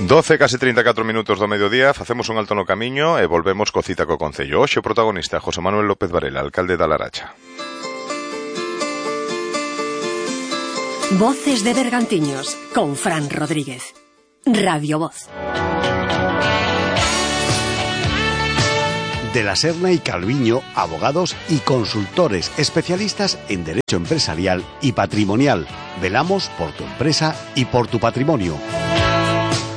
12, case 34 minutos do mediodía, facemos un alto no camiño e volvemos co cita co Concello. Hoxe o protagonista, José Manuel López Varela, alcalde da Laracha. Voces de Bergantiños, con Fran Rodríguez. Radio Voz. De la Serna y Calviño, abogados y consultores especialistas en derecho empresarial y patrimonial. Velamos por tu empresa y por tu patrimonio.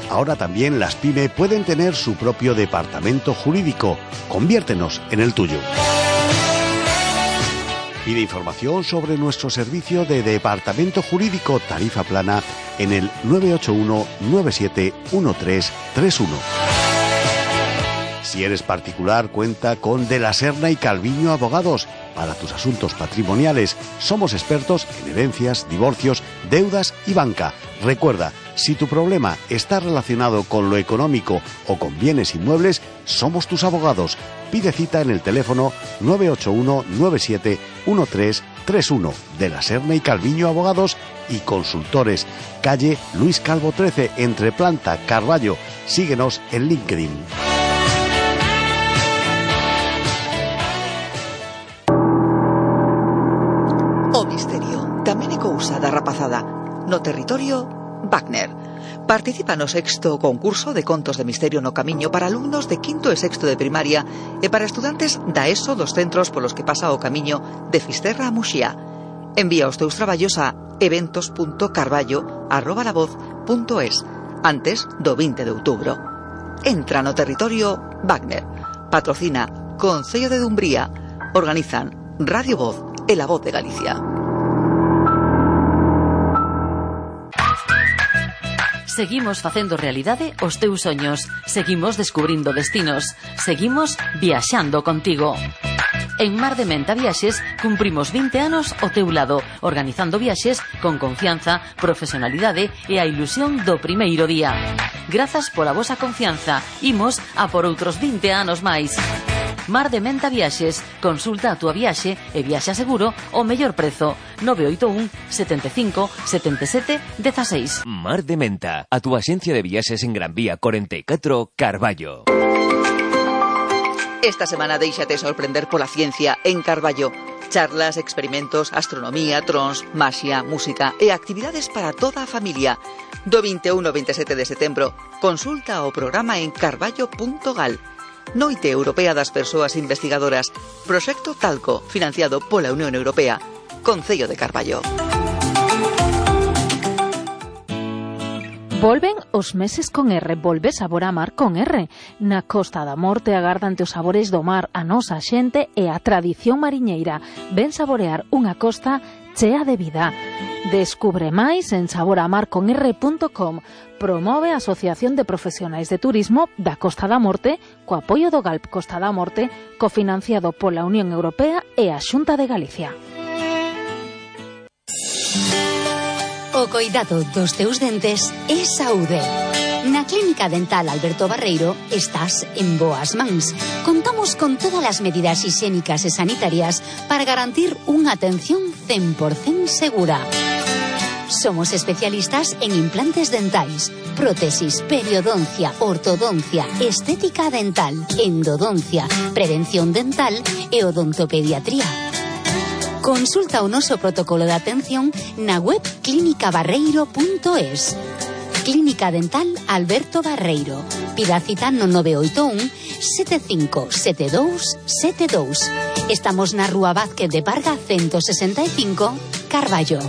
Ahora también las PYME pueden tener su propio departamento jurídico. Conviértenos en el tuyo. Pide información sobre nuestro servicio de departamento jurídico tarifa plana en el 981 97 1331. Si eres particular, cuenta con De la Serna y Calviño Abogados para tus asuntos patrimoniales. Somos expertos en herencias, divorcios, deudas y banca. Recuerda, si tu problema está relacionado con lo económico o con bienes inmuebles, somos tus abogados. Pide cita en el teléfono 981 97 1331. De la Serna y Calviño Abogados y Consultores. Calle Luis Calvo 13, entre Planta, Carballo. Síguenos en LinkedIn. O misterio tamén é cousa da rapazada. No territorio, Wagner. Participa no 6º concurso de contos de misterio no camiño para alumnos de 5º e 6º de primaria e para estudantes da ESO dos centros polos que pasa o camiño de Fisterra a Muxía. Envía os teus traballos a eventos.carballo@lavoz.es antes do 20 de outubro. Entra no territorio Wagner. Patrocina Concello de Dumbría. Organizan Radio Voz e La Voz de Galicia. Seguimos facendo realidade os teus soños. Seguimos descubrindo destinos. Seguimos viaxando contigo. En Mar de Menta Viaxes cumprimos 20 anos ao teu lado, organizando viaxes con confianza, profesionalidade e a ilusión do primeiro día. Grazas pola vosa confianza. Imos a por outros 20 anos máis. Mar de Menta Viaxes. Consulta a túa viaxe e viaxa seguro ao mellor prezo. 981 75 77 16. Mar de Menta, a túa axencia de viaxes en Gran Vía 44, Carballo. Esta semana déixate sorprender pola ciencia en Carballo. Charlas, experimentos, astronomía, trons, maxia, música e actividades para toda a familia. Do 21 ao 27 de setembro, consulta o programa en carballo.gal. Noite Europea das Persoas Investigadoras. Proxecto Talco, financiado pola Unión Europea. Concello de Carballo. Volven os meses con R, volve sabor a mar con R. Na Costa da Morte agardante os sabores do mar, a nosa xente e a tradición mariñeira. Ven saborear unha costa chea de vida. Descubre máis en saboramarconr.com. Promove a Asociación de Profesionais de Turismo da Costa da Morte co apoio do GALP Costa da Morte, cofinanciado pola Unión Europea e a Xunta de Galicia. O coidado dos teus dentes é saúde. Na Clínica Dental Alberto Barreiro estás en boas mans. Contamos con todas as medidas higiénicas e sanitarias para garantir unha atención 100% segura. Somos especialistas en implantes dentais, prótesis, periodoncia, ortodoncia, estética dental, endodoncia, prevención dental e odontopediatría. Consulta o noso protocolo de atención na web clinicabarreiro.es. Clínica Dental Alberto Barreiro. Pida cita no 981 75 72 72. Estamos na Rúa Vázquez de Parga 165, Carballo.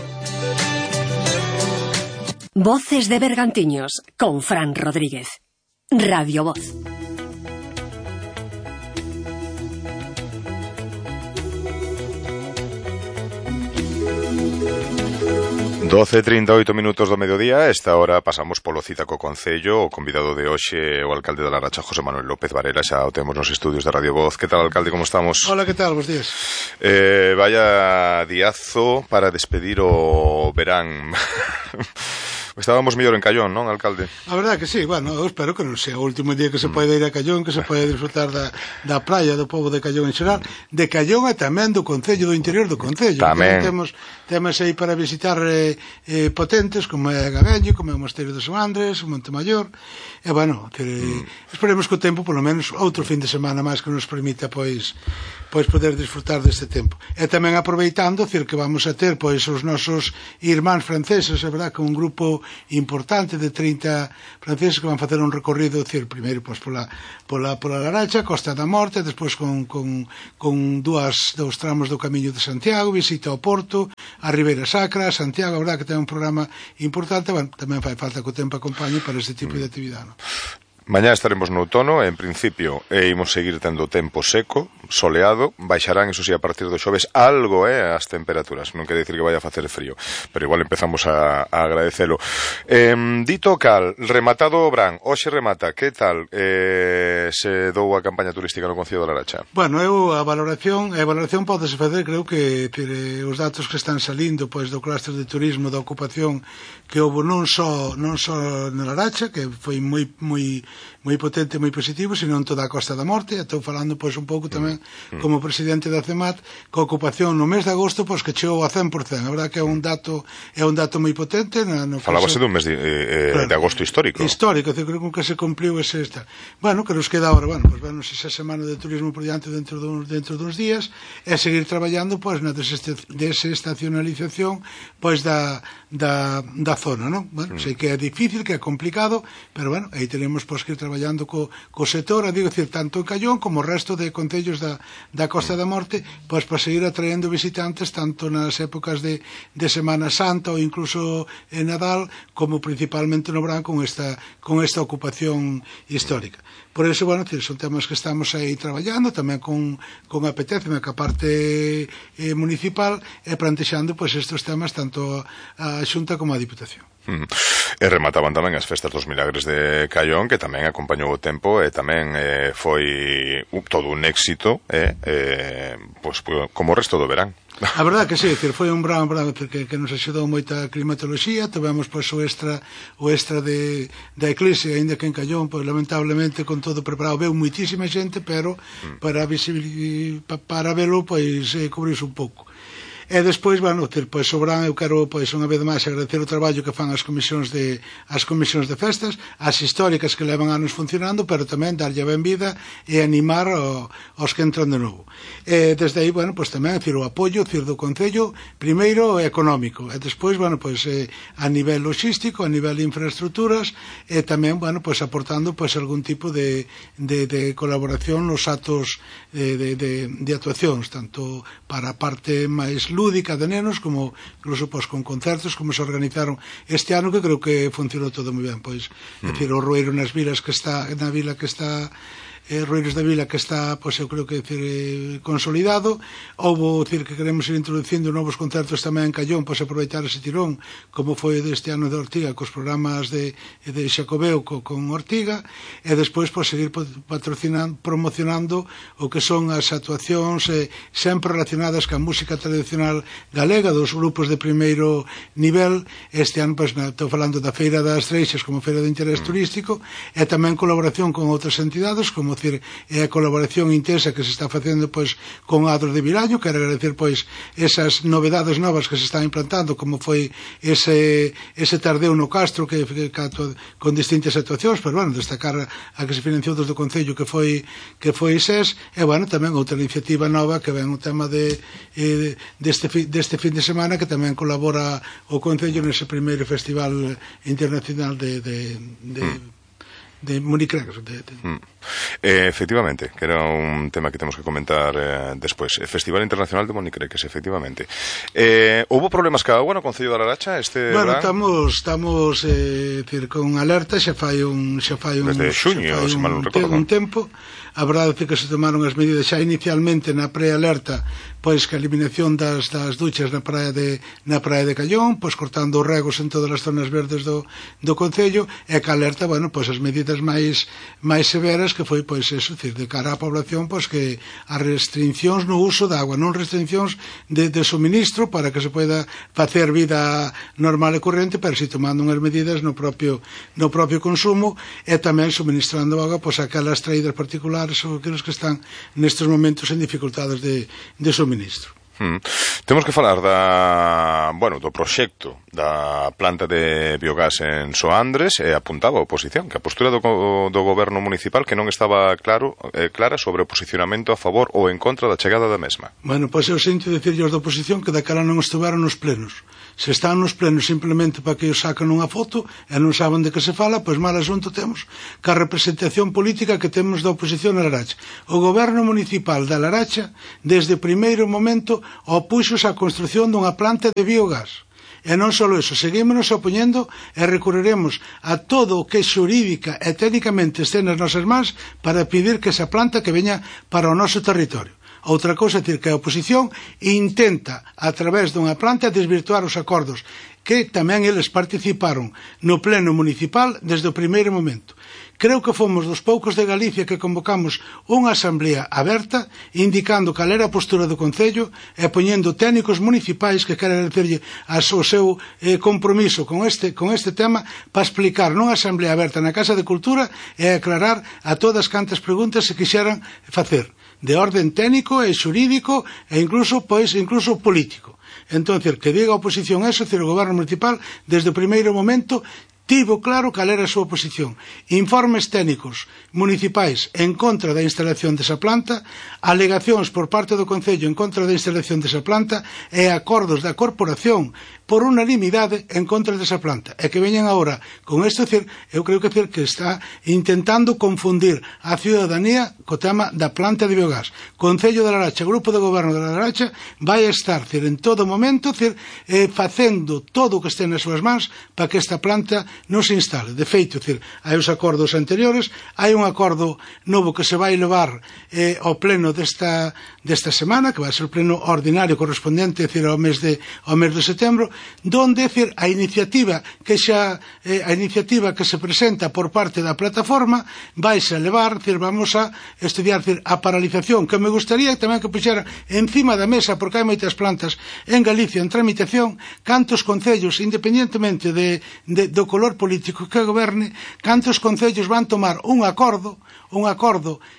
Voces de Bergantiños, con Fran Rodríguez. Radio Voz. Doce 38 minutos do mediodía. Esta hora pasamos polo cita co Concello. O convidado de hoxe, o alcalde da Laracha, José Manuel López Varela. Xa o temos nos estudios de Radio Voz. Que tal, alcalde, como estamos? Hola, que tal? Bos días. Vaya diazo para despedir o verán. Estábamos mellor en Callón, non, alcalde? A verdade que sí, bueno, eu espero que non sea o último día que se poida ir a Callón, que se poida disfrutar da praia do povo de Callón en xeral, de Callón e tamén do concello, do interior do concello. Tamén. Temos aí para visitar potentes, como é Gavello, como é o Mosteiro de San Andrés, o Montemayor, e bueno, esperemos que o tempo, polo menos, outro fin de semana máis que nos permita, pois poder disfrutar deste tempo. E tamén aproveitando, que vamos a ter, pois, os nosos irmáns franceses, é verdad, con un grupo importante de 30 franceses que van facer un recorrido, primeiro, pois, pola Laracha, Costa da Morte, despois con dous tramos do Camiño de Santiago, visita ao Porto, a Ribeira Sacra, a Santiago, a verdad que ten un programa importante, bueno, tamén fai falta que o tempo acompañe para este tipo de actividade, non? Mañá estaremos no outono, en principio imos seguir tendo tempo seco, soleado, baixarán, eso sí, a partir do xoves algo as temperaturas, non quere dicir que vaya a facer frío, pero igual empezamos a agradecelo. Dito cal, rematado o Brán, hoxe remata, que tal se dou a campaña turística no Concello da Laracha? Bueno, a valoración podese facer, creo que os datos que están salindo pois do clúster de turismo, da ocupación que houve non só na Laracha, que foi moi potente, moi positivo, sino en toda a Costa da Morte. Estou falando pois un pouco tamén como presidente da CEMAT, que a ocupación no mes de agosto pois que chegou a 100%. A verdade que é un dato moi potente. Falábase dun mes de agosto histórico. Histórico, creo que se cumpliu ese esta. Bueno, que nos queda agora, esa semana de turismo por diante dentro duns días, e seguir traballando pois na desestacionalización pois da zona, non? Bueno, sei que é difícil, que é complicado, pero bueno, aí tenemos pois que ir traballando co sector, tanto en Callón como o resto de concellos da Costa da Morte, pois para seguir atraendo visitantes tanto nas épocas de Semana Santa ou incluso en Nadal, como principalmente no verán con esta ocupación histórica. Por eso, bueno, son temas que estamos aí traballando, tamén con apetece, que a parte municipal, e plantexando pois estes temas tanto a Xunta como a Diputación. E remataban tamén as festas dos Milagres de Callón, que tamén acompañou o tempo e tamén foi todo un éxito, pois como o resto do verán. A verdade que sí, foi un verán que nos axudou moita climatoloxía, tivemos pois o extra da Eclisia, aínda que en Callón, pois lamentablemente con todo preparado, veu moitísima xente, pero para velo pois cubriuse un pouco. E despois, bueno, pois Sobrán, eu quero, pois, unha vez máis agradecer o traballo que fan as comisións de festas, as históricas que levan anos funcionando, pero tamén darlle a benvida e animar aos que entran de novo. E desde aí, bueno, pois tamén, o apoio do Concello, primeiro económico, e despois, bueno, pois a nivel logístico, a nivel de infraestructuras, e tamén, bueno, pois aportando, pois, algún tipo de colaboración nos atos de actuacións, tanto para a parte máis lúdica de nenos, como incluso pois con concertos como se organizaron este ano, que creo que funcionou todo moi ben, pois decir, o Rueiro nas vilas que está na vila que está Rueiros da Vila, que está, pois eu creo que consolidado. Houbo, que queremos ir introducindo novos concertos tamén en Callón, pois aproveitar ese tirón, como foi deste ano de Ortiga, cos programas de Xacobeo con Ortiga, e despois pois seguir promocionando o que son as actuacións sempre relacionadas ca música tradicional galega, dos grupos de primeiro nivel. Este ano, pois, estou falando da Feira das Treixas como Feira de Interés Turístico, e tamén colaboración con outras entidades, como é a colaboración intensa que se está facendo pois con Adros de Vilaño. Quero agradecer pois esas novedades novas que se están implantando, como foi ese tardeo no Castro que con distintas actuacións, pero bueno, destacar a que se financiou desde o Concello que foi SES, e bueno, tamén outra iniciativa nova que ven o tema deste fin de semana, que tamén colabora o Concello nese primeiro Festival Internacional de Monicreques. Efectivamente, que era un tema que temos que comentar despois. Festival Internacional de Monicreques, efectivamente. Houbo problemas ca agua no Concello da Laracha este bueno, verán? Estamos con alerta xa fai un desde xuño, se mal non recordo, un tempo. A verdade é que se tomaron as medidas xa inicialmente na prealerta, pois que a eliminación das duchas na praia de Callón, pois cortando os regos en todas as zonas verdes do Concello, e que alerta, bueno, pois as medidas medidas máis severas, que foi, pois, eso, decir, de cara á población, pois, que as restriccións no uso da agua, non restriccións de suministro para que se poida facer vida normal e corrente, pero si tomando unhas medidas no propio consumo, e tamén suministrando agua, pois, aquelas traídas particulares ou aqueles que están nestes momentos en dificultades de suministro. Temos que falar do proxecto da planta de biogás en Soandres, e apuntaba a oposición, que a postura do goberno municipal que non estaba clara sobre o posicionamento a favor ou en contra da chegada da mesma. Bueno, pois eu sinto dicirlle aos da oposición que daquela non estiveron nos plenos. Se están nos plenos simplemente para que os sacan unha foto e non saben de que se fala, pois mal asunto temos ca representación política que temos da oposición na Laracha. O goberno municipal da Laracha, desde o primeiro momento, opuxos á construción dunha planta de biogás. E non só iso, seguímonos opoñendo e recorreremos a todo o que xurídica e técnicamente este nas nosas mans para pedir que esa planta que veña para o noso territorio. Outra cousa é dicir que a oposición intenta, a través dunha planta, desvirtuar os acordos que tamén eles participaron no pleno municipal desde o primeiro momento. Creo que fomos dos poucos de Galicia que convocamos unha asamblea aberta indicando cal era a postura do Concello e poñendo técnicos municipais que queren decirlle o seu compromiso con este tema para explicar nunha asamblea aberta na Casa de Cultura e aclarar a todas cantas preguntas se quixeran facer de orden técnico e xurídico e incluso político. Entón, que diga a oposición eso, o goberno municipal desde o primeiro momento tivo claro cal era a súa posición. Informes técnicos municipais en contra da instalación desa planta, alegacións por parte do Concello en contra da instalación desa planta e acordos da corporación por unanimidade en contra desa planta. E que veñen agora con isto, eu creo que está intentando confundir a ciudadanía co tema da planta de biogás. Concello de Laracha, Grupo de Goberno de Laracha, vai estar en todo momento facendo todo o que este nas súas mans para que esta planta non se instale. De feito, hai os acordos anteriores, hai un acordo novo que se vai levar ao pleno desta semana, que vai ser o pleno ordinario correspondente ao mes de setembro, donde a iniciativa que se presenta por parte da plataforma vaise a levar, vamos a estudiar a paralización, que me gustaría tamén que puxera encima da mesa, porque hai moitas plantas en Galicia en tramitación, cantos concellos, independentemente do color político que goberne, cantos concellos van tomar un acordo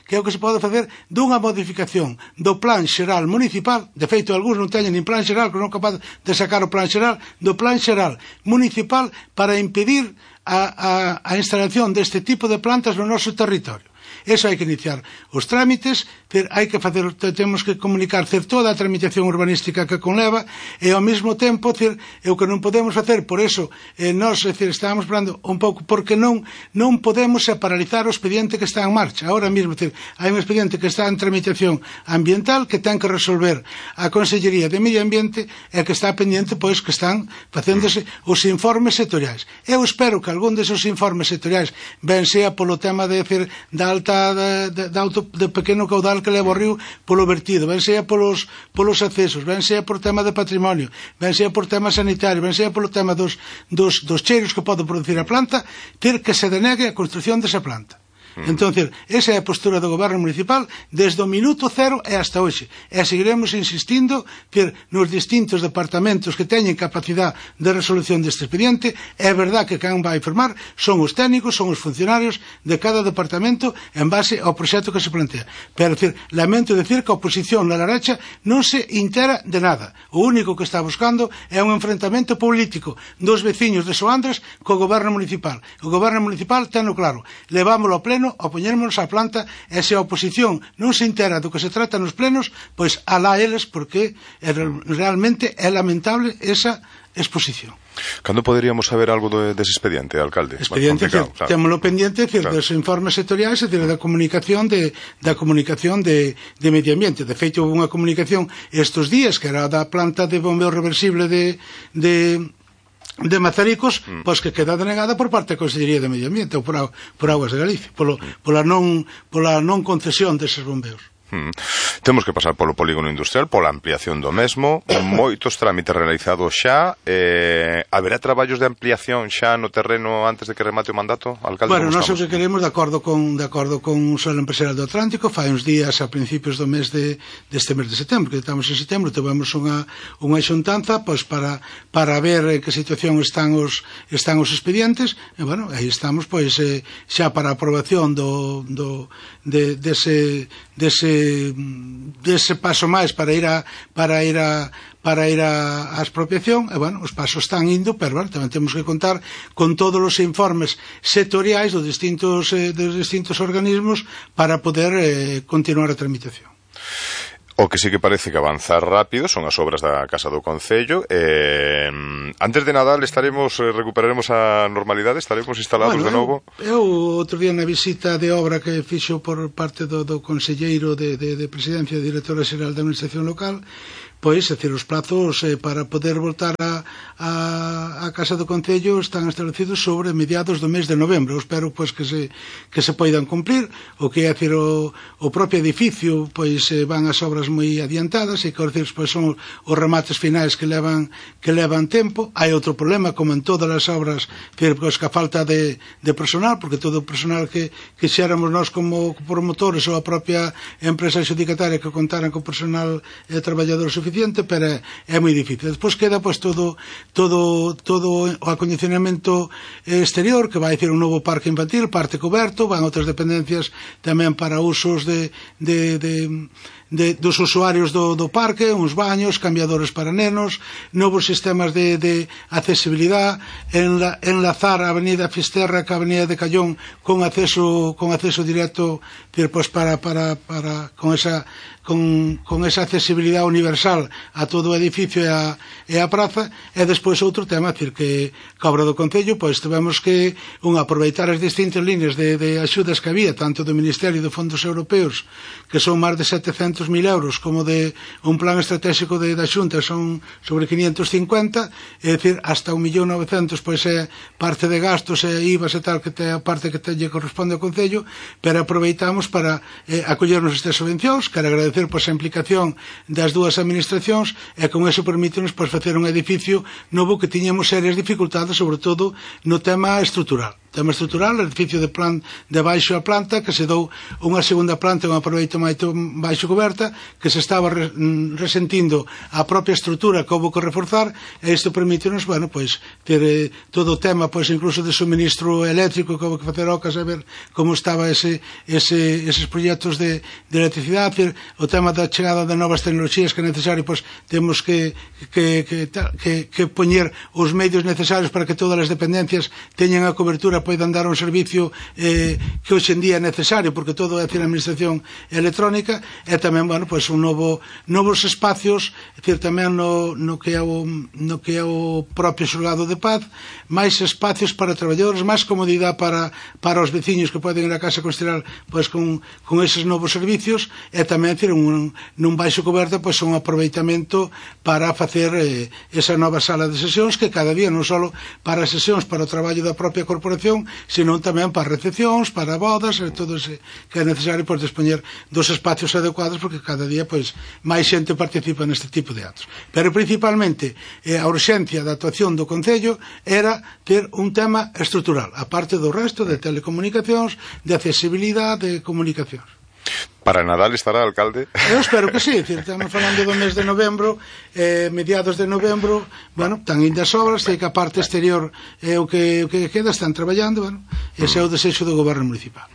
que é o que se pode facer dunha modificación do plan xeral municipal. De feito, algúns non teñen nin plan xeral, que non é capaz de sacar o plan xeral, do plan xeral municipal para impedir a instalación deste tipo de plantas no noso territorio. Eso hai que iniciar os trámites, temos que comunicar toda a tramitación urbanística que conleva e ao mesmo tempo o que non podemos facer, por eso nós estábamos falando un pouco porque non podemos paralizar o expediente que está en marcha. Ahora mesmo hai un expediente que está en tramitación ambiental que ten que resolver a Consellería de Medio Ambiente e que está pendiente pois que están facéndose os informes sectoriais. Eu espero que algún desos informes sectoriais ben sea polo tema da alta de pequeno caudal que leva o río polo vertido, ben sea polos accesos, ben sea por tema de patrimonio, ben sea por tema sanitario, ben sea polo tema dos cheiros que pode producir a planta, ter que se denegue a construción desa planta. Entón, esa é a postura do goberno municipal desde o minuto cero e hasta hoxe. E seguiremos insistindo nos distintos departamentos que teñen capacidade de resolución deste expediente. É verdad que quen vai firmar son os técnicos, son os funcionarios de cada departamento en base ao proxecto que se plantea. Pero, lamento decir que a oposición na Laracha non se intera de nada. O único que está buscando é un enfrentamento político dos veciños de Soandres co goberno municipal. O goberno municipal teno claro, levámoslo ao pleno, opoñérmonos á planta, e se a oposición non se entera do que se trata nos plenos, pois alá eles, porque realmente é lamentable esa exposición. Cando poderíamos saber algo dese expediente, alcalde? Expediente, témolo pendiente dos informes sectoriais e da comunicación de Medio Ambiente. De feito, houve unha comunicación estes días que era da planta de bombeo reversible de Mazaricos, pois que queda denegada por parte da Consellería de Medio Ambiente ou por Aguas de Galicia, pola non concesión deses bombeos. Temos que pasar polo polígono industrial, pola ampliación do mesmo, moitos trámites realizados xa. Haberá traballos de ampliación xa no terreno antes de que remate o mandato, alcalde? Bueno, nós o que queremos, de acordo con o Solo Empresarial do Atlántico, fai uns días a principios do mes deste mes de setembro, que estamos en setembro, tivemos unha xuntanza pois para ver que situación están os expedientes, e bueno, aí estamos pois xa para a aprobación dese paso máis para ir á expropiación. E bueno, os pasos están indo, pero bueno, tamén temos que contar con todos os informes sectoriais dos distintos organismos para poder continuar a tramitación. O que sí que parece que avanza rápido son as obras da Casa do Concello. Antes de Nadal recuperaremos a normalidade, estaremos instalados de novo. Eu outro día na visita de obra que fixo por parte do conselleiro de Presidencia, Directora Xeral da Administración Local, pois, é dicir, os plazos para poder voltar a Casa do Concello están establecidos sobre mediados do mes de novembro. Eu espero pois que se poidan cumplir. O que é dicir, o propio edificio pois van as obras moi adiantadas, e que pois son os remates finais que levan tempo. Hai outro problema, como en todas as obras, pois que a falta de personal, porque todo o personal que xéramos nós como promotores ou a propia empresa adxudicataria que contaran con personal traballador suficiente, pero é moi difícil. Despois queda pois todo o acondicionamento exterior, que vai ser un novo parque infantil, parte coberto, van outras dependencias tamén para usos dos usuarios do parque, uns baños, cambiadores para nenos, novos sistemas de accesibilidade, enlazar a avenida Fisterra ca avenida de Callón con acceso directo, pois para con esa accesibilidade universal a todo o edificio e a praza. E despois outro tema, que a obra do Concello, pois tivemos que aproveitar as distintas líneas de axudas que había, tanto do Ministerio de Fondos Europeos, que son máis de 700.000 euros, como de un plan estratégico da Xunta, son sobre 550, é dicir, hasta 1.900.000 pois é parte de gastos e IVAs e tal, que é a parte que lle corresponde ao Concello, pero aproveitamos para acollernos estas subvencións. Quero agradecer pois a implicación das dúas administracións, e con eso permítenos pois facer un edificio novo que tiñamos serias dificultades, sobre todo no tema estrutural. O edificio de baixo a planta, que se dou unha segunda planta e un aproveito baixo coberta, que se estaba resentindo a propia estrutura que houve que reforzar, e isto permítenos, bueno, pois ter todo o tema, pois incluso de suministro eléctrico, que houve que facer ocas a ver como estaba eses proxectos de electricidade, o tema da chegada de novas tecnoloxías que é necesario, pois temos que poñer os medios necesarios para que todas as dependencias teñan a cobertura, poidan dar un servicio que hoxe en día é necesario, porque todo é a administración electrónica. E tamén, bueno, pois novos espacios, tamén no que é o propio xulgado de paz, máis espacios para traballadores, máis comodidade para os veciños que poden ir a casa considerar pois con eses novos servicios, e tamén nun baixo coberta pois un aproveitamento para facer esa nova sala de sesións, que cada día non só para sesións para o traballo da propia corporación, senón tamén para recepcións, para bodas, e todo ese que é necesario pois dispoñer dos espacios adecuados, porque cada día pois máis xente participa neste tipo de actos. Pero principalmente a urxencia da actuación do Concello era ter un tema estrutural, a parte do resto de telecomunicacións, de accesibilidade, de comunicacións. Para Nadal estará, alcalde? Eu espero que sí, estamos falando do mes de novembro, mediados de novembro, bueno, están indo as obras, sei que a parte exterior é o que queda, están traballando, bueno, ese é o desexo do goberno municipal.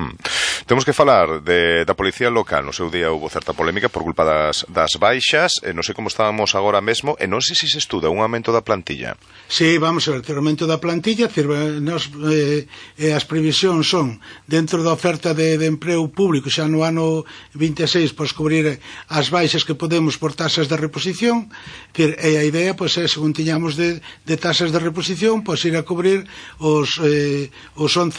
Temos que falar da policía local. No seu día houve certa polémica por culpa das baixas, non sei como estábamos agora mesmo, e non sei se estuda un aumento da plantilla. Sí, vamos a ver, o aumento da plantilla, as previsións son, dentro da oferta de emprego público, xa no ano 26, pois cubrir as baixas que podemos por tasas de reposición, e a idea pois é, según tiñamos de tasas de reposición, pois ir a cubrir os 11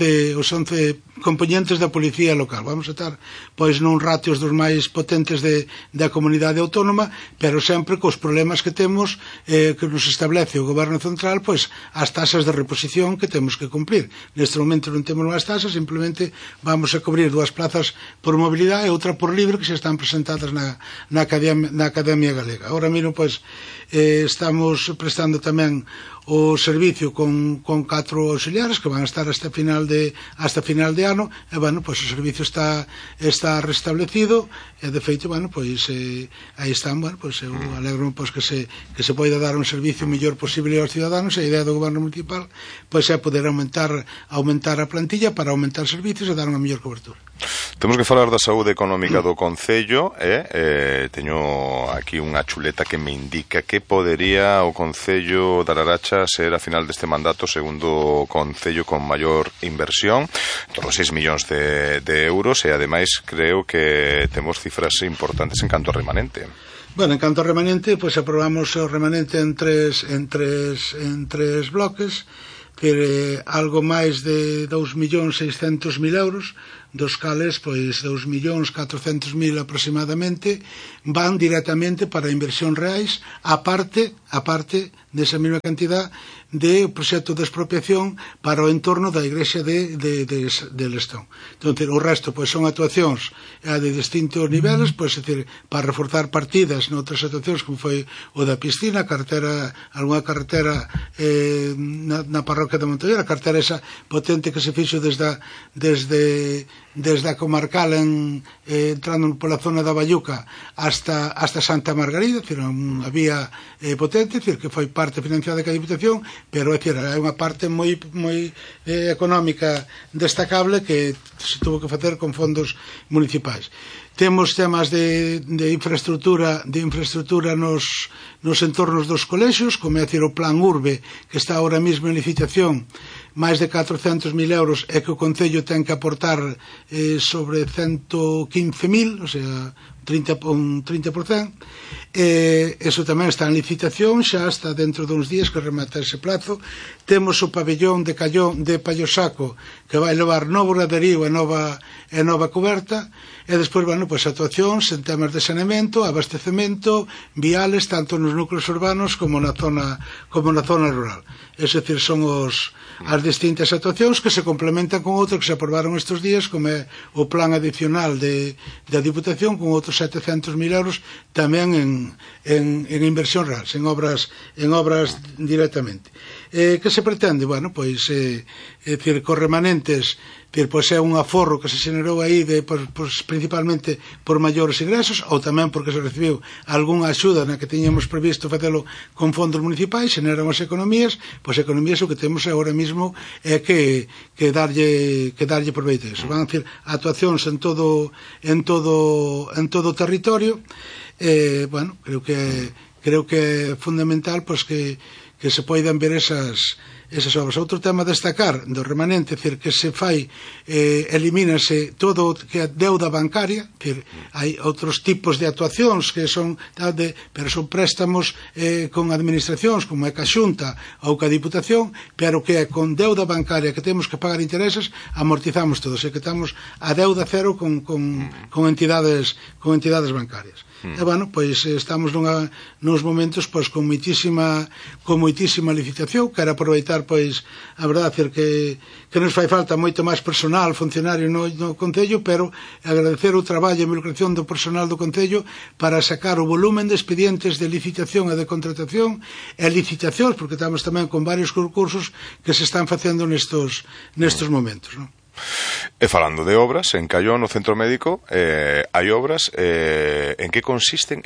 componentes da policía local. Vamos a estar pois nun ratios dos máis potentes da comunidade autónoma, pero sempre cos problemas que temos que nos establece o goberno central, pois as tasas de reposición que temos que cumplir. Neste momento non temos máis tasas, simplemente vamos a cubrir 2 plazas por mobilidade e outra outra por libre que xa están presentadas na Academia Galega. Ahora mesmo, pois, estamos prestando tamén o servicio con 4 auxiliares que van a estar hasta final de ano, e, bueno, pois o servicio está restablecido, e, de feito, bueno, pois, aí están, bueno, pois, eu alegro, pois, que se poida dar un servicio mellor posible aos ciudadanos, e a idea do goberno municipal, pois, é poder aumentar a plantilla para aumentar servicios e dar unha mellor cobertura. Temos que falar da saúde económica do Concello, teño aquí unha chuleta que me indica que podería o Concello de Laracha ser a final deste mandato segundo Concello con maior inversión, todos 6 millóns de euros, e ademais creo que temos cifras importantes en canto a remanente. Bueno, en canto a remanente, pois aprobamos o remanente en tres bloques, que algo máis de 2.600.000 euros, dos cales, pois, 2.400.000 aproximadamente van directamente para inversión reais, aparte desa mesma cantidad de proxecto de expropiación para o entorno da igrexa de Lestón. Entón, o resto, pois, son actuacións de distintos niveles, pois, é dicir, para reforzar partidas noutras actuacións, como foi o da piscina, algunha carretera na parroquia de Montollera, a carretera esa potente que se fixo desde a comarcal entrando pola zona da Bayuca hasta Santa Margarida, é dicir, unha vía potente, é dicir, que foi parte financiada da Diputación, pero é dicir, é unha parte moi económica destacable que se tuvo que facer con fondos municipais. Temos temas de infraestructura nos entornos dos colexios, como é dicir, o plan Urbe, que está ahora mesmo en licitación, máis de 400.000 euros, e que o Concello ten que aportar sobre 115.000, o sea, un 30%. Eso tamén está en licitación, xa está dentro duns días que remata ese plazo. Temos o pabellón de Pallosaco, que vai levar novo graderío e nova coberta, e despois, bueno, pois actuacións en temas de saneamento, abastecemento, viales, tanto nos núcleos urbanos como na zona rural. É dicir, son as distintas actuacións que se complementan con outras que se aprobaron estes días, como é o plan adicional da Diputación, con outros 700.000 euros tamén en inversión real, en obras directamente. Que se pretende? Bueno, pois, dicir, cos remanentes, pois é un aforro que se xenerou aí principalmente por maiores ingresos, ou tamén porque se recibiu algunha axuda na que teñamos previsto facelo con fondos municipais, xeneran as economías, pois economías o que temos agora mesmo é que darlle proveito a iso. Van a decir actuacións en todo o territorio. Bueno, creo que é fundamental pois que se poidan ver esas obras. Outro tema a destacar do remanente, é dicir, que se fai, elimínase todo que é deuda bancaria, é dicir, hai outros tipos de actuacións que son, pero son préstamos con administracións, como é ca Xunta ou ca Diputación, pero que é con deuda bancaria que temos que pagar intereses, amortizamos todos, e que estamos a deuda cero con entidades bancarias. E, bueno, pois estamos nos momentos pois con moitísima licitación. Quero aproveitar, pois, a verdade, que nos fai falta moito máis personal funcionario no Concello, pero agradecer o traballo e a involucración do personal do Concello para sacar o volumen de expedientes de licitación e de contratación e licitacións, porque estamos tamén con varios concursos que se están facendo nestos momentos, non? E falando de obras, en Callón, no centro médico, hai obras, en que consisten,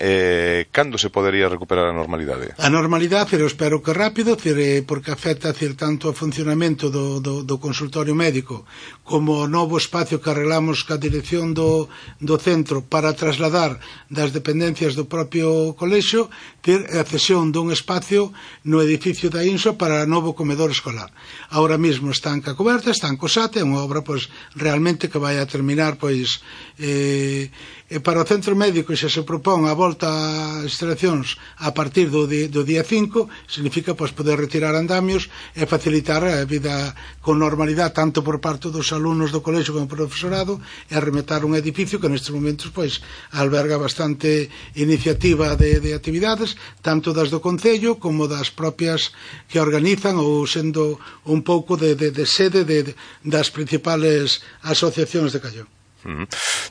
cando se podería recuperar a normalidade? A normalidade, pero espero que rápido, porque afecta tanto ao funcionamento do consultorio médico como o novo espacio que arreglamos ca dirección do centro para trasladar das dependencias do propio colexio, a cesión dun espacio no edificio da INSO para novo comedor escolar. Ahora mesmo están ca coberta, están co SAT, é unha obra pois realmente que vai a terminar pois para o centro médico xa se propón a volta a instalacións a partir do día 5, significa pois poder retirar andamios e facilitar a vida con normalidade tanto por parte dos alumnos do colexio como por profesorado, e rematar un edificio que nestes momentos pois alberga bastante iniciativa de actividades, tanto das do Concello como das propias que organizan, ou sendo un pouco de sede das principales asociacións de Callón.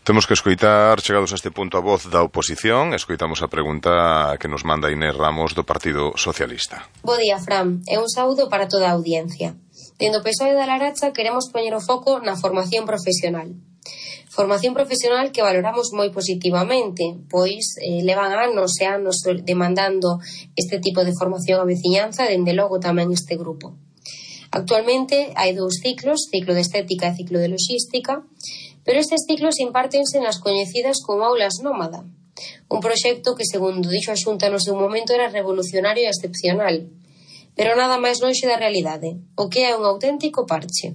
Temos que escoitar, chegados a este punto, a voz da oposición. Escoitamos a pregunta que nos manda Inés Ramos do Partido Socialista. Bo día, Fran, e un saúdo para toda a audiencia. Dende o PSOE da Laracha queremos poñer o foco na formación profesional. Formación profesional que valoramos moi positivamente, pois levan anos e anos demandando este tipo de formación á veciñanza, dende logo tamén este grupo. Actualmente hai 2 ciclos, ciclo de estética e ciclo de logística, pero estes ciclos impártense nas coñecidas como aulas nómada, un proxecto que, segundo dixo a Xunta no seu momento, era revolucionario e excepcional, pero nada máis lonxe da realidade, o que é un auténtico parche.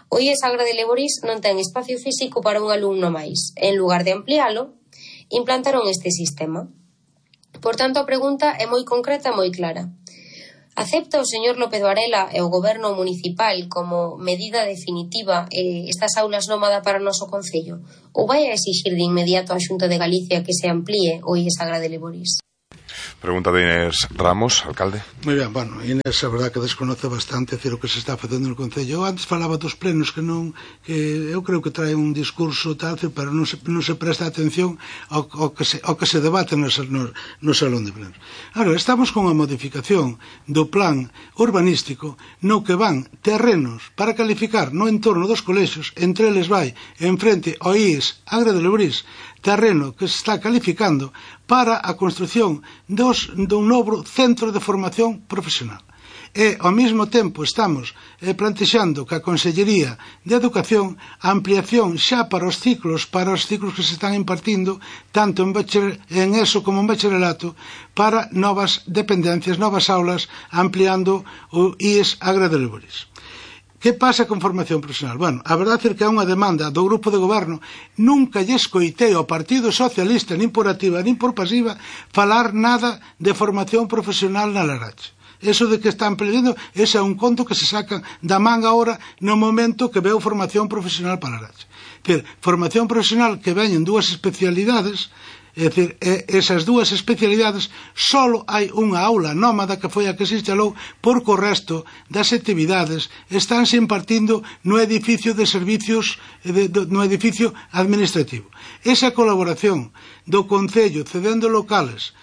O IES Agra de Leborís non ten espacio físico para un alumno máis. En lugar de ampliálo, implantaron este sistema. Por tanto, a pregunta é moi concreta e moi clara. Acepta o señor López Varela e o goberno municipal como medida definitiva estas aulas nómada para o noso concello? Ou vai a exixir de inmediato á Xunta de Galicia que se amplíe o IES Agra de Leborís? Pregunta de Inés Ramos, alcalde. Moi ben, bueno, Inés, a verdad que desconoce bastante o que se está facendo no Concello. Eu antes falaba dos plenos que eu creo que trae un discurso tal, pero non se presta atención ao que se debate no salón de plenos. Ahora, estamos con a modificación do plan urbanístico no que van terrenos para calificar no entorno dos colexios, entre eles vai en frente ao IES Agra de Leborís, terreno que se está calificando para a construción dun novo centro de formación profesional. E, ao mesmo tempo, estamos plantexando que a Consellería de Educación a ampliación xa para os ciclos que se están impartindo, tanto en ESO como en bacharelato, para novas dependencias, novas aulas, ampliando o IES Agra de Leborís. Que pasa con formación profesional? Bueno, a verdade é que é unha demanda do grupo de goberno. Nunca lle escoitei ao Partido Socialista, nin por activa, nin por pasiva, falar nada de formación profesional na Laracha. Eso de que están pedindo, ese é un conto que se sacan da manga ahora no momento que veo formación profesional para Laracha. Formación profesional que veñen 2 especialidades. É dicir, esas 2 especialidades só hai unha aula nómada que foi a que se instalou, porque o resto das actividades estánse impartindo no edificio de servicios, no edificio administrativo. Esa colaboración do Concello cedendo locales,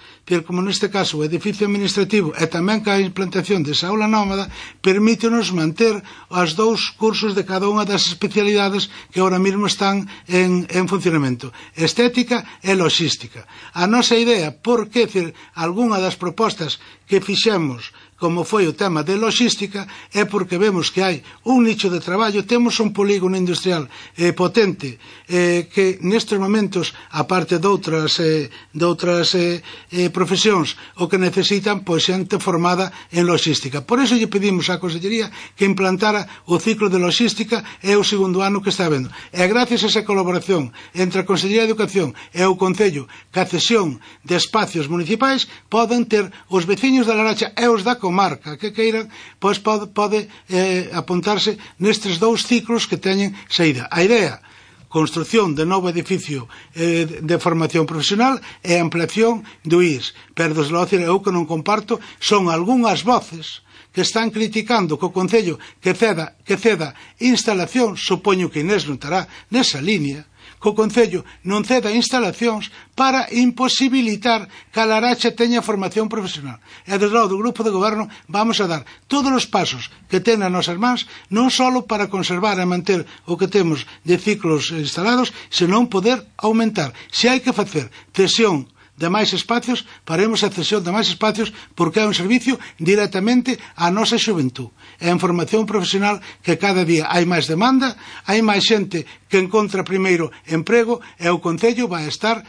como neste caso o edificio administrativo, e tamén que a implantación desa aula nómada, permítenos manter os 2 cursos de cada unha das especialidades que ahora mesmo están en funcionamento: estética e logística. A nosa idea, porque algunha das propostas que fixemos, como foi o tema de logística, é porque vemos que hai un nicho de traballo, temos un polígono industrial potente, que nestes momentos, aparte de outras profesións, o que necesitan, pois, xente formada en logística. Por iso lle pedimos á Consellería que implantara o ciclo de logística, é o 2º ano que está vendo. E gracias a esa colaboración entre a Consellería de Educación e o Concello, que a cesión de espacios municipais, poden ter os veciños da Laracha e os da comarca que queiran, pois pode apuntarse nestes 2 ciclos que teñen saída. A idea: construción de novo edificio de formación profesional e ampliación do IES. Pero, desde logo, eu que non comparto son algunhas voces que están criticando que o Concello que ceda instalacións, supoño que Inés non estará nesa línea, que o Concello non ceda instalacións para imposibilitar que a Laracha teña formación profesional. E desde logo do grupo de goberno vamos a dar todos os pasos que ten nas nosas mans, non só para conservar e manter o que temos de ciclos instalados, senón poder aumentar. Se hai que facer cesión de máis espacios, faremos a cesión de máis espacios, porque é un servicio directamente á nosa xuventud. É en formación profesional que cada día hai máis demanda, hai máis xente que encontra primeiro emprego, e o Concello vai estar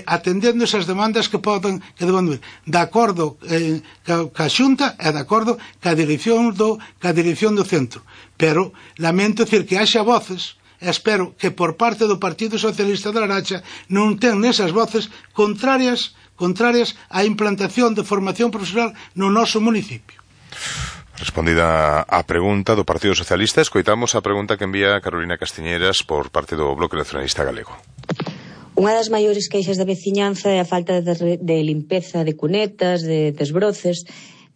atendendo esas demandas que deban vir, de acordo ca Xunta e de acordo ca dirección do centro. Pero lamento que haxa voces, e espero que por parte do Partido Socialista da Laracha non ten nesas voces contrarias á implantación de formación profesional no noso municipio. Respondida a pregunta do Partido Socialista, escoitamos a pregunta que envía Carolina Castiñeiras por parte do Bloque Nacionalista Galego. Unha das maiores queixas da veciñanza é a falta de limpeza de cunetas, de desbroces.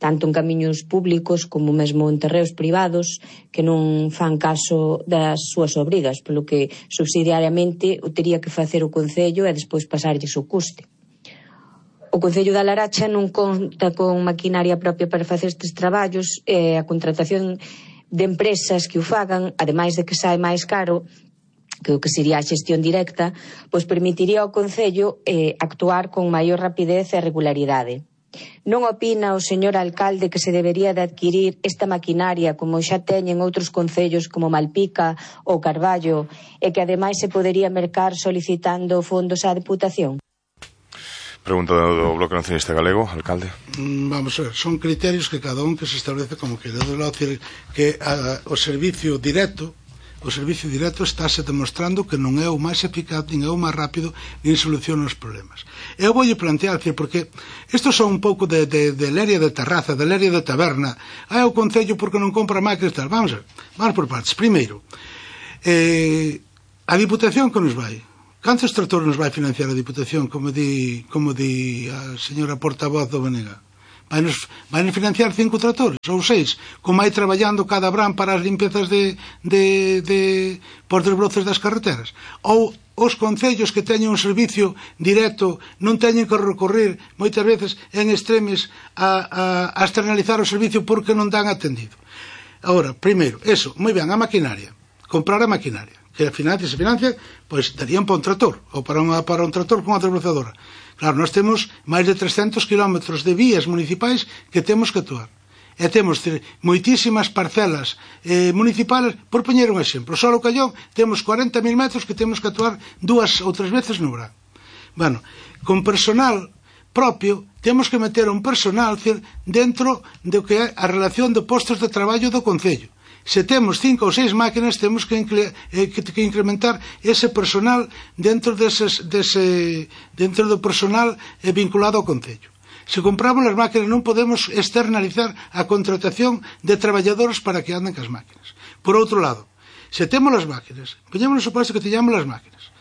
tanto en camiños públicos como mesmo en terreos privados que non fan caso das súas obrigas, polo que subsidiariamente o tería que facer o Concello e despois pasarlles o custe. O Concello da Laracha non conta con maquinaria propia para facer estes traballos e a contratación de empresas que o fagan, ademais de que sae máis caro que o que sería a xestión directa, pois permitiría ao Concello actuar con maior rapidez e regularidade. Non opina o señor alcalde que se debería de adquirir esta maquinaria como xa teñen outros concellos como Malpica ou Carballo e que ademais se podería mercar solicitando fondos á Deputación? Pregunta do Bloque Nacionalista Galego, alcalde. Vamos a ver, son criterios que cada un que se establece como quere. Que o servicio directo estáse demostrando que non é o máis eficaz, nin é o máis rápido, nin soluciona os problemas. Eu voulle plantear, porque isto son un pouco de leria de terraza, de leria de taberna. O Concello porque non compra máquinas tal. Vamos por partes. Primeiro, a Diputación que nos vai? Cantos tractores nos vai financiar a Diputación, como di a señora portavoz do BNG? Vai nos financiar 5 tractores ou 6, como hai traballando cada brán para as limpezas por desbroces das carreteras. Ou os concellos que teñen un servicio directo non teñen que recorrer moitas veces en extremes a externalizar o servicio porque non dan atendido. Agora, primeiro, eso, moi ben, a maquinaria, comprar a maquinaria, que se financia, pois darían para un tractor, ou para un tractor con unha desbrozadora. Claro, nós temos máis de 300 kilómetros de vías municipais que temos que actuar. E temos moitísimas parcelas municipales, por poñer un exemplo, só o Callón temos 40.000 metros que temos que actuar 2 ou 3 veces no verán. Bueno, con personal propio, temos que meter un personal dentro do que é a relación de postos de traballo do Concello. Se temos 5 ou 6 máquinas, temos que incrementar ese personal dentro do personal vinculado ao Concello. Se compramos as máquinas non podemos externalizar a contratación de traballadores para que anden cas máquinas. Por outro lado, se temos as máquinas, poñemos no suposto que teñamos as máquinas,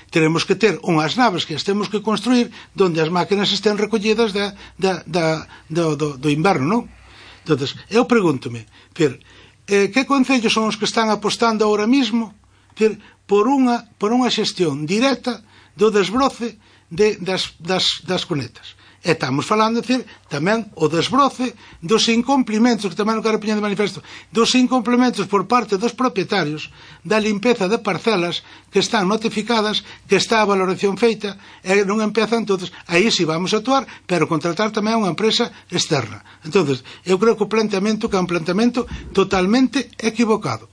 teremos que ter unhas naves que as temos que construir donde as máquinas estén recollidas do inverno, non? Entón, eu pregúntome, que concellos son os que están apostando ahora mismo por unha xestión directa do desbroce das cunetas? E estamos falando, tamén o desbroce dos incumplimentos, que tamén non quero poñer de manifesto, dos incumplimentos por parte dos propietarios da limpeza de parcelas que están notificadas, que está a valoración feita, e non empezan todos. Aí sí vamos a actuar, pero contratar tamén unha empresa externa. Entón, eu creo que o planteamento é un planteamento totalmente equivocado.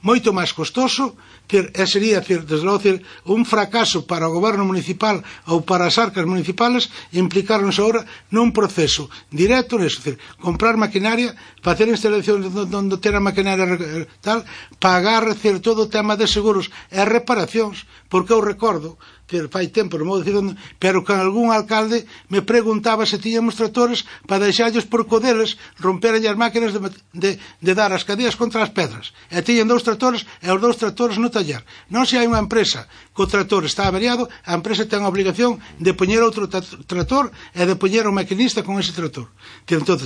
Moito máis costoso, sería, desde logo, un fracaso para o goberno municipal ou para as arcas municipales implicarnos agora nun proceso directo, comprar maquinaria, facer instalacións onde ter a maquinaria tal, pagar todo o tema de seguros e reparacións, porque eu recordo fai tempo, non vou dicir onde, pero que algún alcalde me preguntaba se tiñamos tractores para deixarlos por codeles romperan as máquinas de dar as cadeas contra as pedras, e tiñen 2 tractores e os 2 tractores no taller. Non se hai unha empresa que o tractor está averiado, a empresa ten a obligación de poñer outro tractor e de poñer o maquinista con ese tractor. Entón,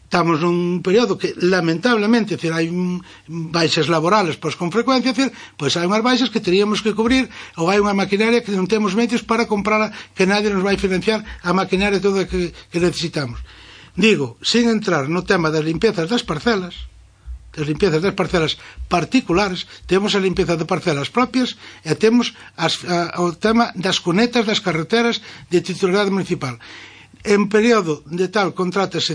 estamos nun período que, lamentablemente, hai baixas laborales, pois con frecuencia, pois hai unhas baixas que teríamos que cubrir, ou hai unha maquinaria que non temos medios para comprarla, que nadie nos vai financiar a maquinaria toda que necesitamos. Digo, sin entrar no tema das limpezas das parcelas particulares, temos a limpeza de parcelas propias e temos o tema das cunetas das carreteras de titularidade municipal. En período de tal contratase,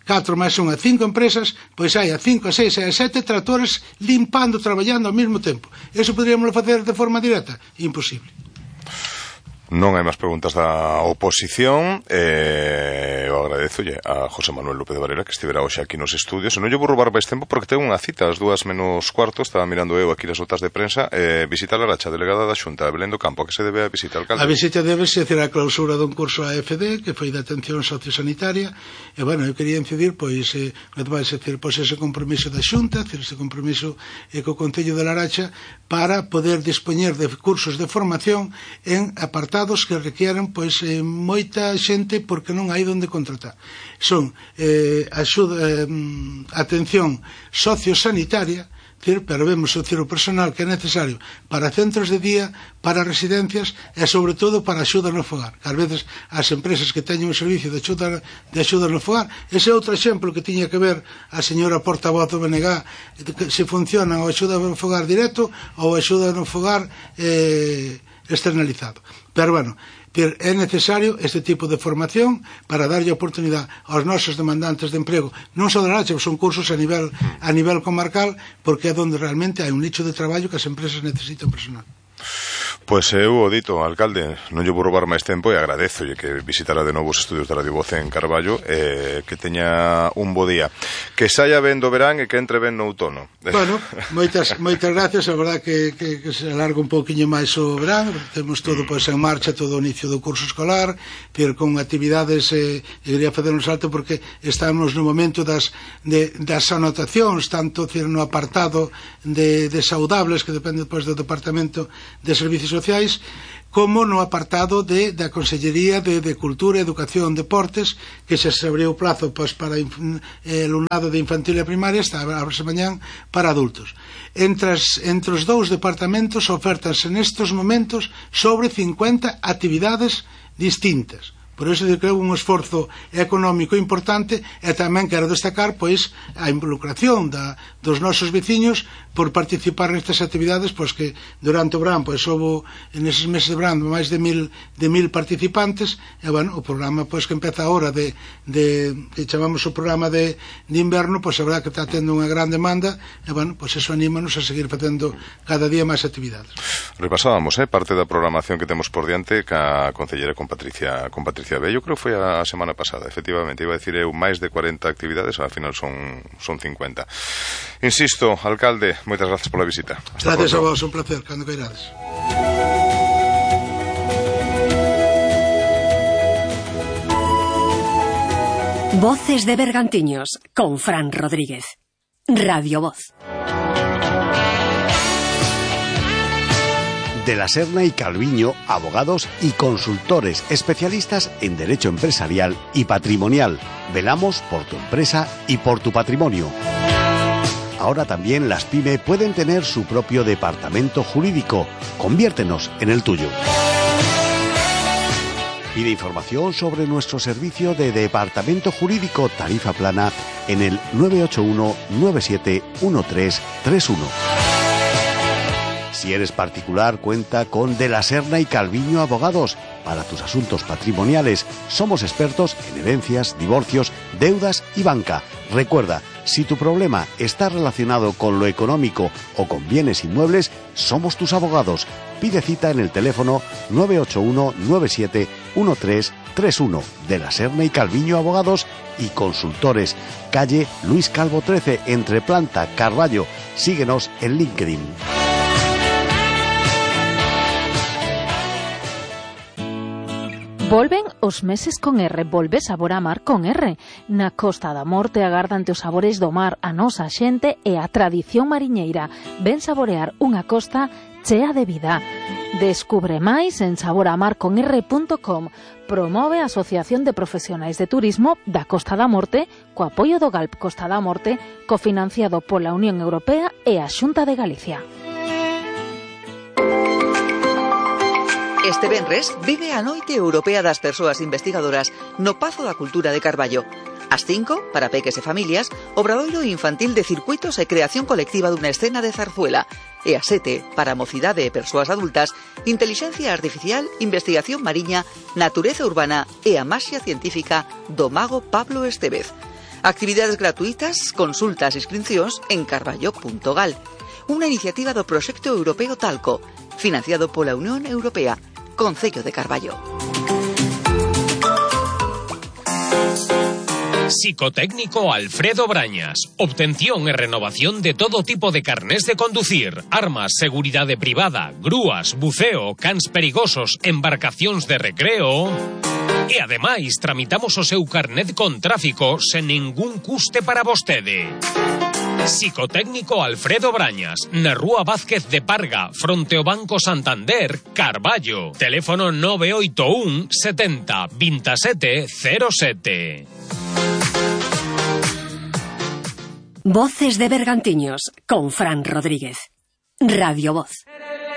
4 máis 1 a 5 empresas, pois hai a 5, a 6 e a 7 tractores limpando, traballando ao mesmo tempo. Eso poderíamos facer de forma directa? Imposible. Non hai máis preguntas da oposición. Eu agradezolle a José Manuel López de Varela que estivera hoxe aquí nos estudios. Non lle vou roubar máis tempo porque ten unha cita ás 2:45. Estaba mirando eu aquí as notas de prensa. Visita a Laracha, delegada da Xunta, Belén do Campo. A que se debe a visita, alcalde? A visita debe ser a clausura dun curso AFD que foi de atención sociosanitaria. E, bueno, eu quería incidir, pois, ese compromiso da Xunta, ese compromiso co Concello de Laracha para poder dispoñer de cursos de formación a partir apartados que requieren pois moita xente porque non hai onde contratar. Son atención sociosanitaria, pero vemos o personal que é necesario para centros de día, para residencias e sobre todo para axuda no fogar, que ás veces as empresas que teñen un servicio de axuda no fogar, ese é outro exemplo que tiña que ver a señora portavoz do BNG, se funciona o axuda no fogar directo ou axuda no fogar externalizado. Pero bueno, é necesario este tipo de formación para darlle oportunidade aos nosos demandantes de emprego, non só de Laracha, son cursos a nivel comarcal, porque é onde realmente hai un nicho de traballo que as empresas necesitan personal. Pois eu o dito, alcalde, non lle vou roubar máis tempo e agradezo que visitara de novo os estudios de Radio Voz en Carballo, que teña un bo día, que saia ben do verán e que entre ben no outono. Bueno, moitas gracias, a verdad que se alarga un pouquiño máis o verán, temos todo pois en marcha, todo o inicio do curso escolar, pero con actividades, quería facer un salto porque estamos no momento das anotacións, tanto no apartado de saudables, que depende depois do Departamento de Servicios Sociais, como no apartado da Consellería de Cultura, Educación, Deportes, que xa se abriu o plazo para o alumnado de infantil e primaria, está a mañán para adultos. Entre os dous departamentos ofertanse nestes momentos sobre 50 actividades distintas. Por iso que é un esforzo económico importante, e tamén quero destacar pois a involucración dos nosos veciños por participar nestas actividades, pois que durante o verán pois houve neses meses de verán máis de 1000 participantes, e bueno, o programa pois que empeza agora que chamamos o programa de inverno, pois a verdad que está tendo unha gran demanda, e bueno, pois eso anímanos a seguir facendo cada día máis actividades. Repasábamos parte da programación que temos por diante ca concellera con Patricia Bello, creo que foi a semana pasada, efectivamente, iba a decir eu máis de 40 actividades, ao final son 50. Insisto, alcalde, moitas gracias pola visita. Gracias a vos, un placer, cando queirades. Voces de Bergantiños, con Fran Rodríguez. Radio Voz. De la Serna y Calviño, abogados y consultores especialistas en derecho empresarial y patrimonial. Velamos por tu empresa y por tu patrimonio. Ahora también las PYME pueden tener su propio departamento jurídico. Conviértenos en el tuyo. Pide información sobre nuestro servicio de departamento jurídico tarifa plana en el 981 97 1331. Si eres particular, cuenta con De la Serna y Calviño Abogados. Para tus asuntos patrimoniales, somos expertos en herencias, divorcios, deudas y banca. Recuerda, si tu problema está relacionado con lo económico o con bienes inmuebles, somos tus abogados. Pide cita en el teléfono 981 97 1331. De la Serna y Calviño Abogados y Consultores. Calle Luis Calvo 13, entre Planta, Carballo. Síguenos en LinkedIn. Volven os meses con R, volve sabor a mar con R. Na Costa da Morte agardante os sabores do mar, a nosa xente e a tradición mariñeira. Ven saborear unha costa chea de vida. Descubre máis en saboramarconr.com. Promove a Asociación de Profesionais de Turismo da Costa da Morte co apoio do GALP Costa da Morte, cofinanciado pola Unión Europea e a Xunta de Galicia. Este venres vive a Noite Europea das Persoas Investigadoras no Pazo da Cultura de Carballo. Ás 5, para peques e familias, obradoiro infantil de circuitos e creación colectiva dunha escena de zarzuela. E ás 7, para mocidade e persoas adultas, intelixencia artificial, investigación mariña, natureza urbana e a maxia científica do mago Pablo Estevez. Actividades gratuitas, consultas e inscripcións en carballo.gal. Unha iniciativa do Proxecto Europeo Talco, financiado pola Unión Europea. Concello de Carballo. Psicotécnico Alfredo Brañas. Obtención e renovación de todo tipo de carnés de conducir, armas, seguridade privada, grúas, buceo, cans perigosos, embarcacións de recreo. E ademais tramitamos o seu carnet con tráfico sen ningún custe para vostede. Psicotécnico Alfredo Brañas, na Rúa Vázquez de Parga, fronte ao Banco Santander, Carballo. Teléfono 981 70 27 07. Voces de Bergantiños, con Fran Rodríguez. Radio Voz.